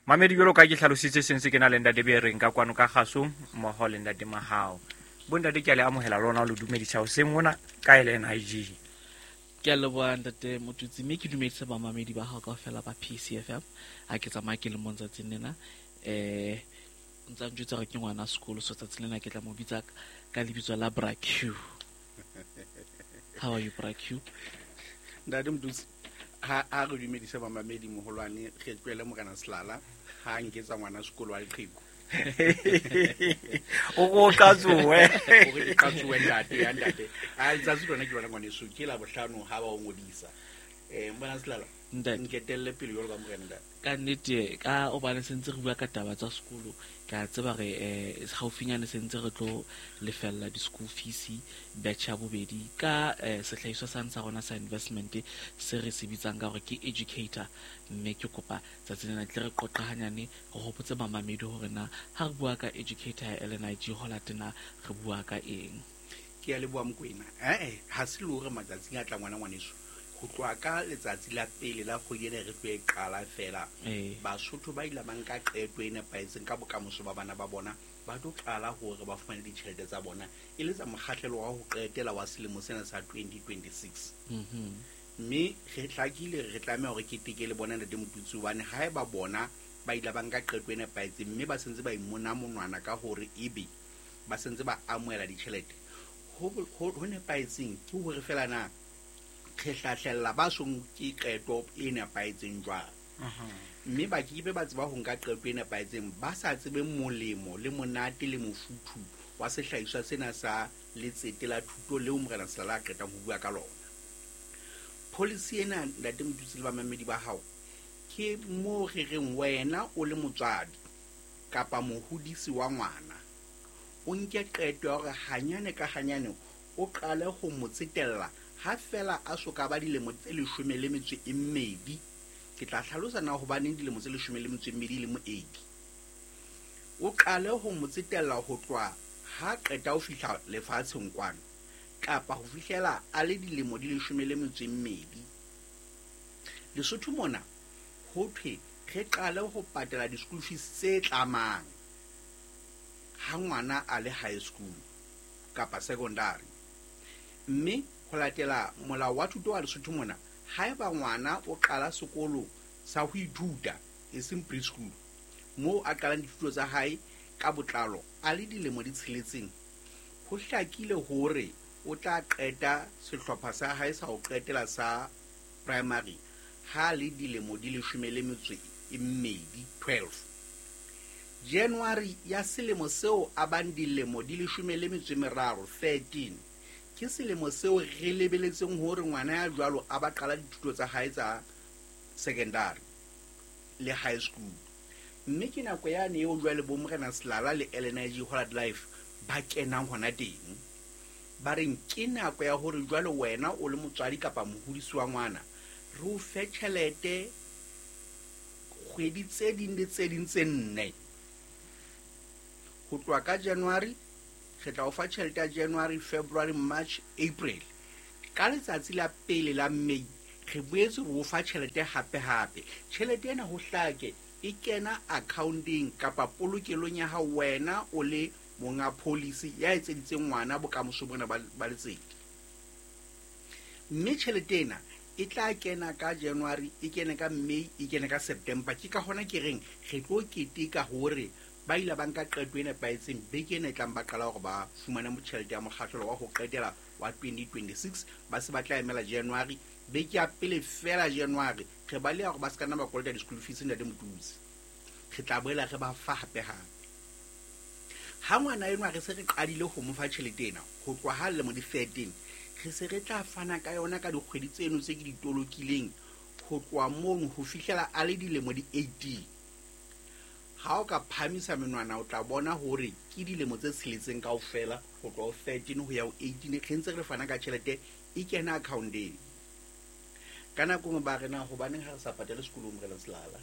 Mamedi, jwalo ka ke hlalositse, sentse ke na le ntate Bereng ka kwano ka kgasong mmoho le ntate Mahao. Bontate, ke a le amohela lona, lo dumedisa hoseng mona ka LNIG. Ke a leboha, ntate Motutsi, mme ke dumedise bamamedi ba hao kaofela ba PCFM. Ha ke tsamaya ke le mong tsatsing lena, ntsa njwetsa hore ke ngwana sekolo, so tsatsing lena ke tla mo bitsa ka lebitso la Bra Q. How are you, Bra Q? Ntate Motutsi, ha a re dumedise bamamedi moholwane, re tlohele Morena Selala ha a nketsa ngwana sekolo wa leqheku. O ko qatsoe. O re ke qatsoe, ntate ya ntate. A letsatsi lona ke lona, ngwaneso, ke la bohlano ha ba o ngodisa. Morena Selala, Ntate. Nketelle pele jwalo ka morena, ntate. Ka nnete, ka obane sentse re bua ka taba tsa sekolo, ke a tseba re haufinyane sentse re tlo lefella di-school fees batch ya bobedi ka sehlahiswa sane sa rona sa investment se re se bitsang ka hore ke educator. Mme ke kopa tsatsi lena tle re qoqa hanyane, re hopotse bamamedi hore na ha re bua ka educator ya LNIG Hollard na re bua ka eng. Ke a leboha, Mokwena. Ee, ha se le hore matsatsing a tla ngwana ngwaneso, ho tloha ka letsatsi la pele la kgwedi ena re tlo e qala fela, Basotho ba ile ba nka qeto e nepahetseng ka bokamoso ba bana ba bona, ba tlo qala hore ba fumane ditjhelete tsa bona e le tsa mokgahlelo wa ho qetela wa selemo sena sa 2026. Mme re hlakile re tlameha hore keteke le bona, ntate Motutsi, hobane haeba bona ba ile ba nka qeto e nepahetseng mme ba sentse ba imona monwana ka hore ebe ba sentse ba amohela ditjhelete, ho nepahetseng ke hore fela na re hlahlella ba so nke qeto e nepahetseng jwang, mme ba ke be ba tseba ho nka qeto e nepahetseng ba sa tsebe molemo le monate le mofuthu wa sehlahiswa sena sa letsete la thuto leo Morena Selala a qetang ho bua ka lona. Policy ena, ntate Motutsi le bamamedi ba hao, ke moo re reng wena o le motswadi kapa mohodisi wa ngwana, o nke qeto ya hore hanyane ka hanyane o qale ho mo tsetella ha fela a so ka ba dilemo tse 12. Ke tla hlalosa na hobaneng dilemo tse 12 e le moedi. O qale ho mo tsetella ho tloha ha qeta ho fihla lefatsheng kwano, kapa ho fihlela a le dilemo di 12. Lesotho mona ho thwe re qale ho patela di-school fees tse tlamang ha ngwana a le high school kapa secondary. Mme ho latela molao wa thuto wa Lesotho mona, haeba ngwana o qala sekolo sa ho ithuta, e seng preschool, moo a qalang dithuto tsa hae ka botlalo a le dilemo di 6, ho hlakile hore o tla qeta sehlopha sa hae sa ho qetela sa primary ha le dilemo di 12, 12. January ya selemo seo a bang dilemo di 13, 13, ke selemo seo re lebeletseng hore ngwana ya jwalo a ba qala dithuto tsa hae tsa secondary le high school. Mme ke nako yane eo jwale bo Morena Selala le LNIG Hollard Life ba kenang hona teng. Ba reng ke nako ya hore jwale wena o le motswadi kapa mohodisi wa ngwana, re o fe tjhelete kgwedi tse ding le tse ding tse 4. Ho tloha ka January, re tla o fa tjhelete ya January, February, March, April. Ka letsatsi la pele la May, re boetse re o fa tjhelete hape hape. Tjhelete ena ho hlake e kena accounteng kapa polokelong ya hao wena o le monga policy ya etseditseng ngwana bokamoso bona ba letsete. Mme tjhelete ena e tla kena ka January, e kene ka May, e kene ka September. Ke ka hona ke reng re tlo keteka hore ba ile ba nka qeto e nepahetseng beke ena e tlang ba qala hore ba fumane tjhelete ya mokgahlelo wa ho qetela wa 2026. Ba se ba tla emela January, beke ya pele fela January, re baleha hore ba se ka nna ba kolota di-school fees, ntate Motutsi. Re tla boela re ba fa hape hape. Ha ngwana enwa re se re qadile ho mo fa tjhelete ena ho tloha ha lemo di 13, re se re tla fana ka yona ka dikgwedi tseno tse ke di tolokileng ho tloha mono ho fihlela a le dilemo di 18. Ha o ka phahamisa menwana o tla bona hore ke dilemo tse 6 kaofela ho tloha ho 13 ho ya ho 18, re ntse re fana ka tjhelete e kena accounteng. Ka nako nngwe ba re na hobaneng ha re sa patale sekolong, Morena Selala?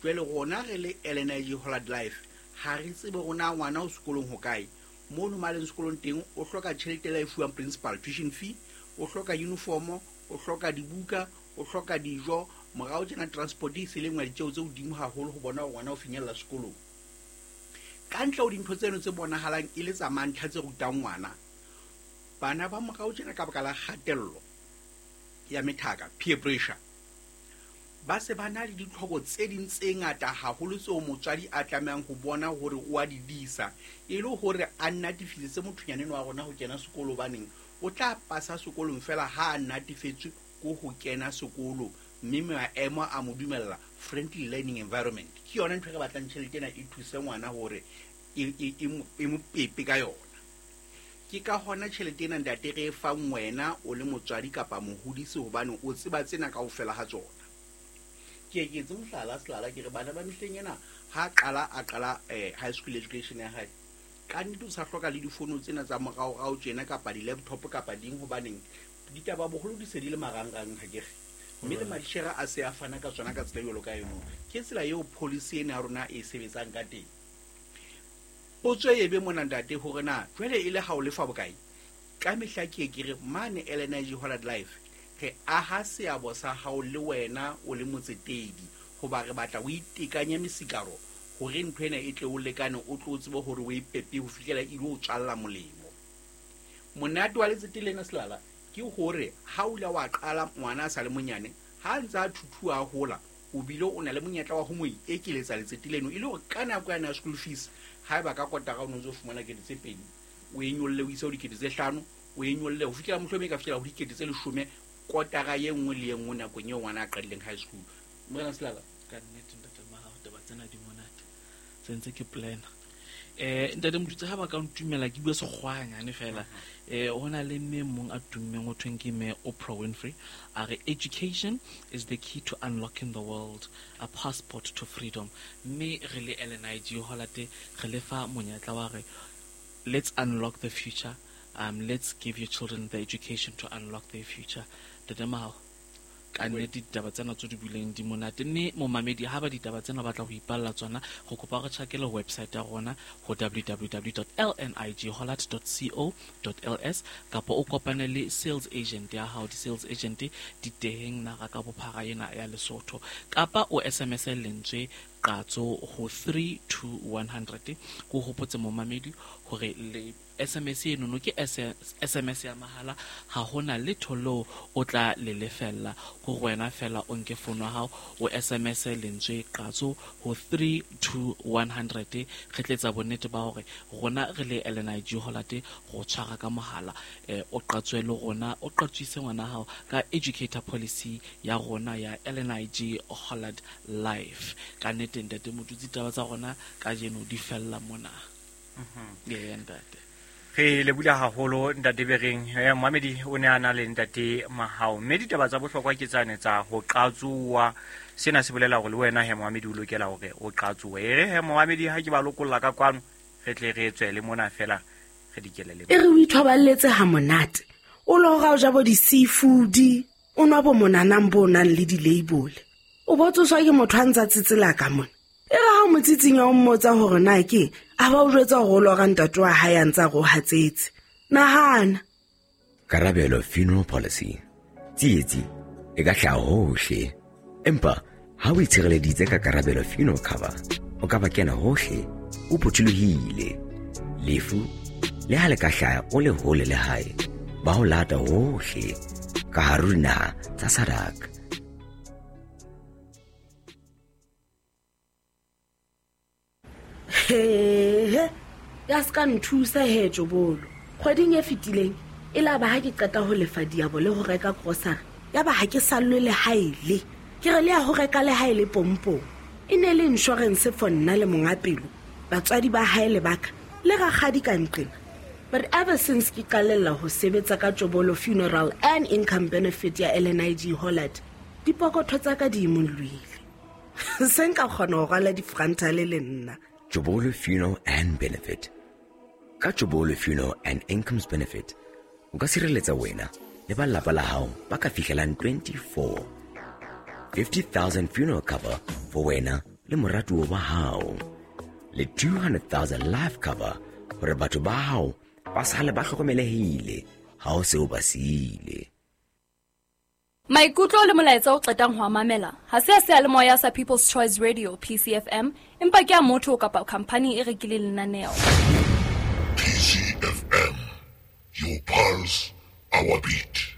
Jwale rona re le LNIG Hollard Life ha re tsebe hore na ngwana o sekolong hokae. Mono ma leng sekolong teng o hloka tjhelete le e fuwang principal, tuition fee, o hloka uniform, o hloka dibuka, o hloka dijo, Morao tjena transport e se le nngwe ya ditjeo tse hodimo haholo ho bona hore ngwana o finyella sekolong. Ka ntle ho dintho tseno tse bonahalang e le tsa mantlha tse rutang ngwana, bana ba morao tjena ka baka la kgatello ya methaka, peer pressure, ba se ba na le ditlhoko tse ding tse ngata haholo tseo motswadi a tlamehang ho bona hore o a di disa, e le hore a natefisetse mothonyana enwa wa rona ho kena sekolo, hobaneng o tla pasa sekolong fela ha a natefetswe ko ho kena sekolo, mme maemo a mo dumella friendly learning environment. Ke yona ntho e re batlang tjhelete ena e thuse ngwana hore e mo pepe ka yona. Ke ka hona tjhelete ena ntate re e fang wena o le motswadi kapa mohodisi, hobane o tseba tsena kaofela ha tsona. Ke ke etse mohlala selala, ke re bana ba mehleng ena ha a qala high school education ya hae, ka nnete o sa hloka le difono tsena tsa moraorao tjena kapa di-laptop kapa ding, hobaneng ditaba boholo di se di le marangrang, ha ke re. Mme le madishere a se a fana ka tsona ka tsela jwalo ka eno. Ke tsela eo policy ena ya rona e sebetsang ka teng. Potso e be mona ntate hore na jwale e le ha o lefa bokae? Ka mehla ke ke re mane LNIG Hollard Life re aha seabo sa hao le wena o le motsetedi, hoba re batla o itekanye mesikaro hore ntho ena e tle o lekane, o tlo tsebe hore o e pepe ho fihlela e lo tswalla molemo. Monate wa letsete lena selala ke hore ha o ile wa qala ngwana a sa le monyane, ha ntse a thuthuwa a hola, o bile o na le monyetla wa ho mo ekeletsa letsete leno, e le hore ka nako ya school fees haeba ka kotara o no ntso fumana 2,000, o e nyolle o ise ho 5,000, o e nyolle ho fihlela mohlomong e ka fihlela ho 10,000 kotara ye nngwe le ye nngwe nakong eo ngwana a qadileng high school. Morena Selala, ka nnete ntate Mahao, taba tsena di monate, se ntse ke plana. Ntate Motutsi, ha ba ka ntumela ke bua sekgwanyane fela. Ho na le mme mong a tummeng ho thweng ke mme Oprah Winfrey, a re education is the key to unlocking the world, a passport to freedom. Mme re le LNIG Hollard re le fa monyetla wa re let's unlock the future, let's give your children the education to unlock their future. Ntate Mahao, ka nnete ditaba tsena tse di buileng di monate, mme momamedi ha ba ditaba tsena batla ho ipalla tsona, go kopa re tjhakele website ya rona ho www.lnighollard.co.ls, kapa o kopane le sales agent ya hao. Di-sales agent di teng naha ka bophara ena ya Lesotho, kapa o SMS lentswe qatso ho 32100. Ko hopotse momamedi hore le SMS eno no ke SMS ya mahala, ha hona letho leo o tla le lefella, ho wena fela o nke fono ya hao o SMS lentswe qatso ho 32100. Re tletsa bonnete ba hore rona re le LNIG Hollard go tshwara ka mohala, o qatswe le rona, o qatswise ngwana hao ka educator policy ya rona ya LNIG Hollard Life. Ka nnete ntate Motutsi, taba tsa rona kajeno di fella mona. Ntate re lebula haholo ntate Bereng. Mohamedi o ne a na le ntate Mahao, mme ditaba tsa bohlokwa ke tsane tsa ho qatsuwa. Sena se bolela hore le wena he Mohamedi o lokela hore o qatsuwe. E re he Mohamedi, ha ke ba lokolla ka kwano, re tle re tswele mona fela re dikelele. E re o ithoballetse ha monate, o lora o ja bo di-seafood, o nwa bo monanang bo nang le di-label, o botsoswa ke motho a ntsa tsetsela ka mona. E re ha o motsitsinya o mmotsa hore na ke a ba o jwetsa hore o lora ntate wa hae a ntsa re o hatsetse. Nahana. Karabelo Funeral Policy. Tsietsi e ka hlaha hohle, empa ha o itshireleditse ka Karabelo Funeral Cover, o ka ba kena hohle o phuthulohile. Lefu le ha le ka hlaha o le hole le hae, ba ho lata hohle ka hare ho dinaha tsa SADC. He, ya ska nthusa he Jobolo. Kgweding e fetileng e la ba ha ke qeta ho lefa diabo le ho reka grocery, ya ba ha ke sallwe le haele. Ke re le ya ho reka le haele pompong. E ne le insurance for nna le monga pelo, batswadi ba hae le baka le rakgadi ka nqena. But ever since ke qalella ho sebetsa ka Jobolo Funeral and Income Benefit ya LNIG Hollard, dipokotho tsa ka di imollohile. Se nka kgona ho rwala difrantale le nna. Jobolo Funeral and Benefit. Ka Jobolo Funeral and Incomes Benefit, o ka sireletsa wena le ba lelapa la hao ba ka fihlelang 24. 50,000 funeral cover for wena le moratuwa wa hao, le 200,000 life cover hore batho ba hao ba sale ba hlokomelehile ha o se o ba siile. Maikutlo le molaetsa o qetang ho a mamela ha se a seyalemoya sa People's Choice Radio, PCFM, empa ke a motho kapa khamphani e rekileng lenaneo. PCFM, your pulse, our beat.